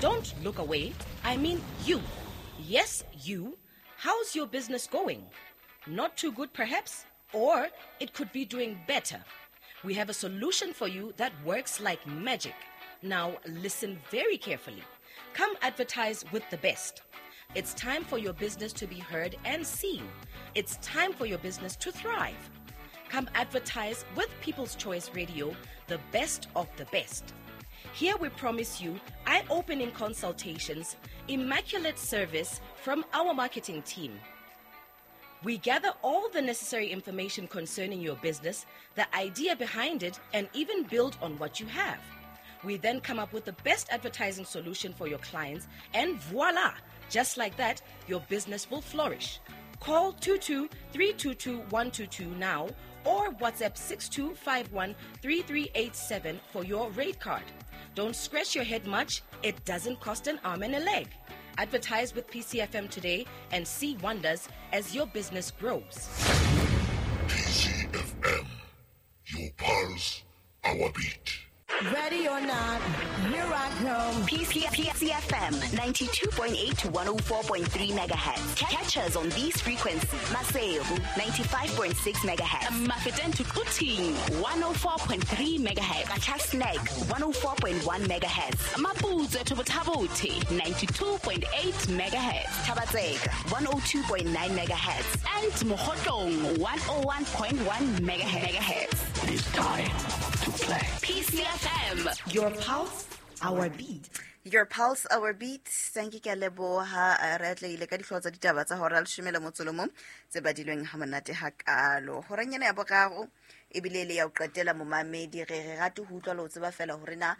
Don't look away. I mean you. Yes, you. How's your business going? Not too good, perhaps? Or it could be doing better. We have a solution for you that works like magic. Now, listen very carefully. Come advertise with the best. It's time for your business to be heard and seen. It's time for your business to thrive. Come advertise with People's Choice Radio, the best of the best. Here we promise you eye opening consultations, immaculate service from our marketing team. We gather all the necessary information concerning your business, the idea behind it, and even build on what you have. We then come up with the best advertising solution for your clients, and voila! Just like that, your business will flourish. Call 22 322 122 now or WhatsApp 6251 3387 for your rate card. Don't scratch your head much, it doesn't cost an arm and a leg. Advertise with PCFM today and see wonders as your business grows. PCFM, your pulse, our beat. Ready or not, here I come. PCFM 92.8 to 104.3 megahertz. Catch us on these frequencies. Maseru 95.6 megahertz. Mafeteng to Quthing 104.3 megahertz. Qacha's Nek 104.1 megahertz. Maputsoe to Botha-Bothe 92.8 megahertz. Thaba-Tseka 102.9 megahertz. And Mokhotlong 101.1 megahertz. It is time to play. PCFM. Your pulse, our beat. Your pulse, our beat. Thank you ke a leboha. Re atlehile ka dihlooho tsa ditaba tsa hora leshome le motso le mong tse badilweng ha monate hakalo. Horeng ena ya boraro ebile le ya ho qetela momamedi re re rate ho utlwa le ho tseba fela hore na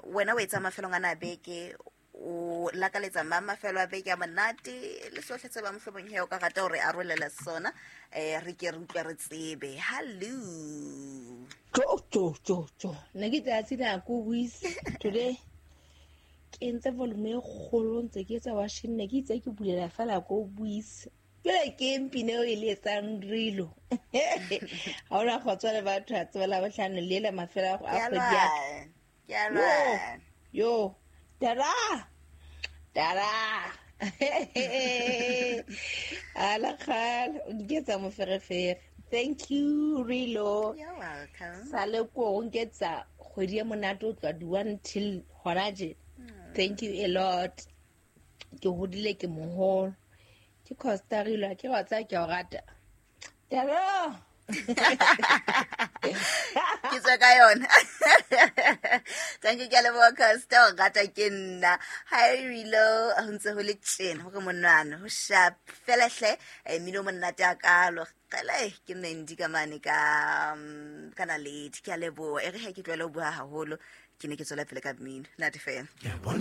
wena o etsa mafelong ana a beke o lakaletsa mang mafelo a beke a monate le sohle tse ba mohlomong he o ka rata hore arolela sona re ke re utlwe re tsebe. Hello. Jo jo jo jo. Nna ke tsatsi la ko buise today. Ke entse volume e kgolo ntse ke etsa washing ne ke itse ke bulela fela ko buise. Jwale ke mpine eo e le etsang rilo. Ha ona kgotso le batho a tsebela bohlano le ela mafelo a kgwedi ya ka. Ke a lwana. Yo, tara. Tara. Ala kgale, o nketsa moferefere. Thank you, Rilo. You're welcome. Sale ko o nketsa kgwedi e monate o tloha di-1 till hona tje. Thank you a lot. Ke hodile ke moholo. Ke Costa Rilo, ke wa tsaya ke o rata. Tara. Ke tswa ka yona. Thank you, ke a leboha Costa, o rata ke nna. Hi Rilo, ho ntse ho le tjena, hore monwana, ho sharp. Fela hle, mmino o monate hakalo. Qele, ke Mandy ka mane ka Naledi. Ke a leboha. E re he ke tlohele ho bua haholo, ke ne ke tswela pele ka mmino. Nate fela. Ke a bona.